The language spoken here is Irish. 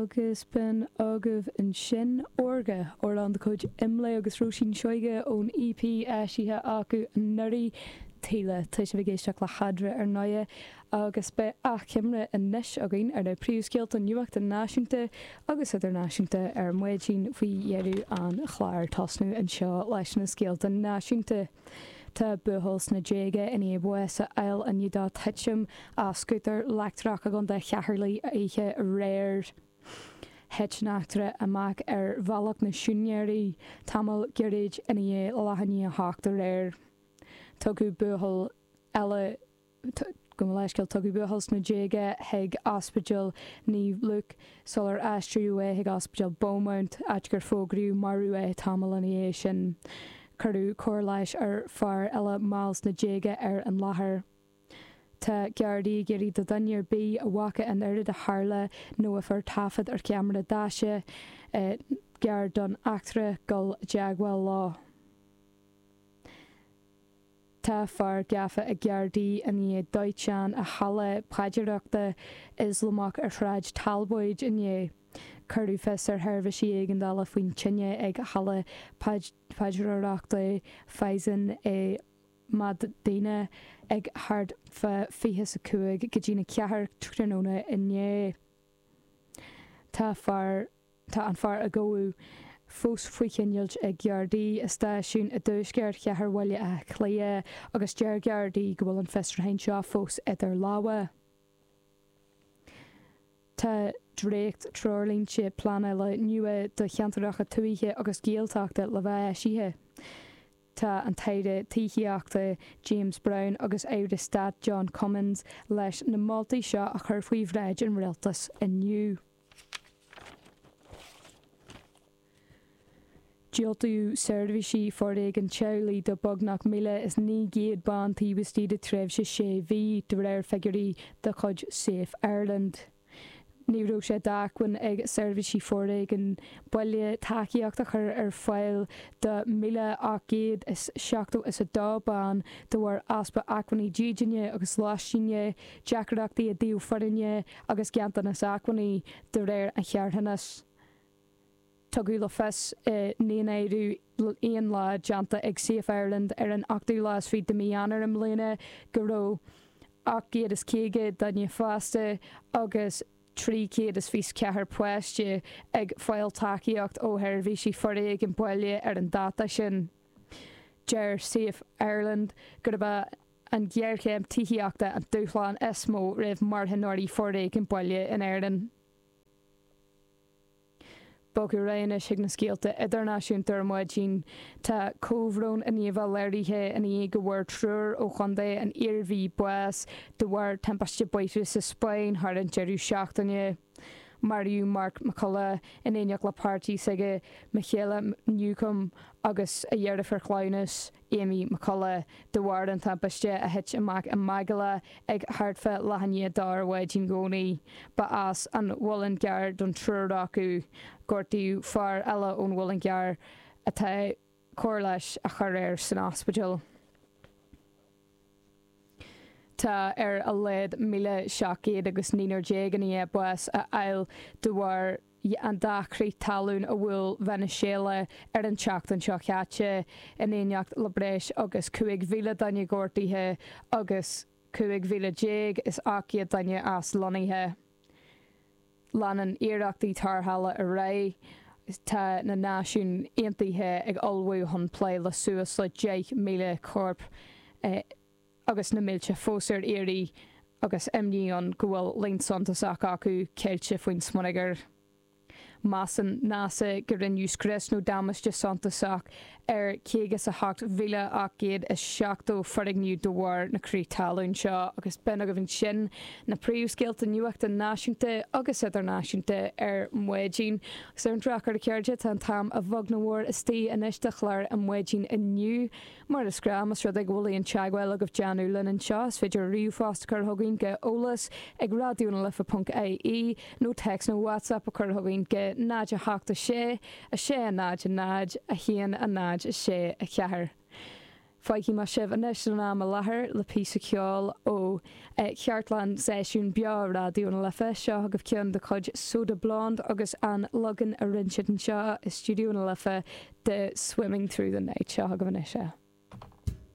Agus b'in agaibh ansin Órga, amhrán de chuid Imlé agus Róisín Seoige ón EP eisithe acu anuraidh, Taoille. Tá sibh ag éisteacht le hEadra ar ndóighe agus beidh achoimre anois againn ar na príomhscéalta nuachta náisiúnta agus idirnáisiúnta ar maidin faoi dheireadh an chláir. Tosnú anseo leis na scéalta náisiúnta. Tá buachaill sna déaga i ndiaidh bás a fháil i ndiaidh dó titim as scútar leictreach i gContae Cheatharlaigh oíche aréir. Thit an eachtra amach ar Bhealach na Siúinéirí tamall gairid i ndiaidh leath i ndiaidh a hocht aréir. Tugadh buachaill eile. Gabh mo leithscéal, tugadh buachaill sna déaga chuig Ospidéal Naomh Luke sular aistríodh é chuig Ospidéal Beaumont, áit gur fógraíodh marbh é tamall ina dhiaidh sin. Cuireadh cóir leighis ar fear eile mall sna déaga ar an láthair. Tá Gardaí ag iarraidh do dhuine ar bith a bhfaca an rud a tharla nó a fuair taifead ar cheamara daise gar don eachtra dul i dteagmháil leo. Tá fear gafa ag Gardaí i ndiaidh dóiteán i halla paidreoireachta Ioslamach ar Shráid Talbóid inné. Cuireadh fios ar sheirbhísí éigeandála faoin tine ag halla paidreoireachta Faizan i Madina ag thart fá 25 go dtí'n 4 tráthnóna inné. Tá fear. Tá an fear a gabhadh fós faoi choinneáil ag Gardaí i stáisiún i dtuaisceart chathair Bhaile Átha Cliath agus deir Gardaí go bhfuil an fiosrúchán seo fós idir lámha. Tá dréacht-treoirlínte pleanála nua do cheantracha tuaithe agus Gaeltachta le bheith eisithe. Tá an tAire Tithíochta James Browne agus Aire Stáit John Cummins leis na moltaí seo a chur faoi bhráid an Rialtais inniu. Diúltaíodh seirbhísí foréigin teaghlaigh do beagnach 1,900 bean taobh istigh de tréimhse sé mhí, de réir figiúirí de chuid Safe Ireland. Ní raibh sé d'acmhainn ag seirbhísí foréigin baile tacaíocht a chur ar fáil do 1,872 bean de bharr easpa acmhainní dídine agus lóistíne, deacrachtaí i dtaobh foirne agus ganntanas acmhainní, de réir an charthanais. Tugadh le fios i ndaonáireamh aon lá déanta ag Safe Ireland ar an ochtú lá is fiche de mhí Eanáir i mbliana go raibh 850 duine fásta agus 324 páiste ag fáil tacaíocht ó sheirbhísí foréigin baile ar an dáta sin. Deir Safe Ireland gurb é an ghéarchéim tithíochta an dúshlán is mó roimh mharthanóirí foréigin baile in Éirinn. Bogadh ar aghaidh anois chuig na scéalta idirnáisiúnta ar maidin. Tá comhbhrón i ndiaidh a bheith léirithe i ndiaidh go bhfuair triúr ó chontae an Iarmhí bás de bharr timpiste bóithre sa Spáinn thar an deireadh seachtaine. Maraíodh Mark McCullough in éineacht le páirtí s'aige Michaela Newcombe agus a dheirfiúr chleamhnais. Amy McCullough, de bharr an timpiste a thit amach i Málaga ag thart fá leath i ndiaidh a dó ar maidin Dhomhnaigh. Ba as an Mhuileann gCearr don triúr acu. Gortaíodh fear eile ón Mhuileann gCearr atá cóir leighis á chur air san ospidéal. Tá ar a laghad 1,700 agus naonúr i ndiaidh bás a fháil de bharr an dá chrith talún a bhuail Veiniséala ar an tseachtain seo chaite, in éineacht le breis agus 5,000 duine gortaithe agus 15,800 duine aslonnaithe. Leanann iarrachtaí tarrthála ar aghaidh. Tá na Náisiúin Aontaithe ag ullmhú chun plé le suas le 10,000 corp agus na mílte fós ar iarraidh agus imní ann go bhfuil líon suntasach acu ceilte faoin smionagar. Measann NASA go rinneadh scrios nó damáiste suntasach ar 58,870 foirgneamh de bharr na crith talún seo agus b'in agaibh ansin na príomhscéalta nuachta náisiúnta agus idirnáisiúnta ar maidin. Agus ar an drochuair a chairde, tá an t-am a bheag nó a mhór istigh anois do chlár ar maidin inniu. Mar is gnáth, más rud é go bhfuil aon teagmháil agaibh déanamh linn anseo, is féidir ríomhphost a chur chugainn go eolas ag raidionalife ponc ie nó téacs nó WhatsApp a chur chugainn go 0 8 6 6 0 0 1 0 6 4. Fágfaidh mé sibh anois san am i láthair le píosa ceoil ó chartlann seisiún beo Raidió na Life. Seo agaibh ceann de chuid Soda Blonde agus an leagan a rinne siad anseo i Stiúideo na Life de Swimming Through the Night. Seo agaibh anois é.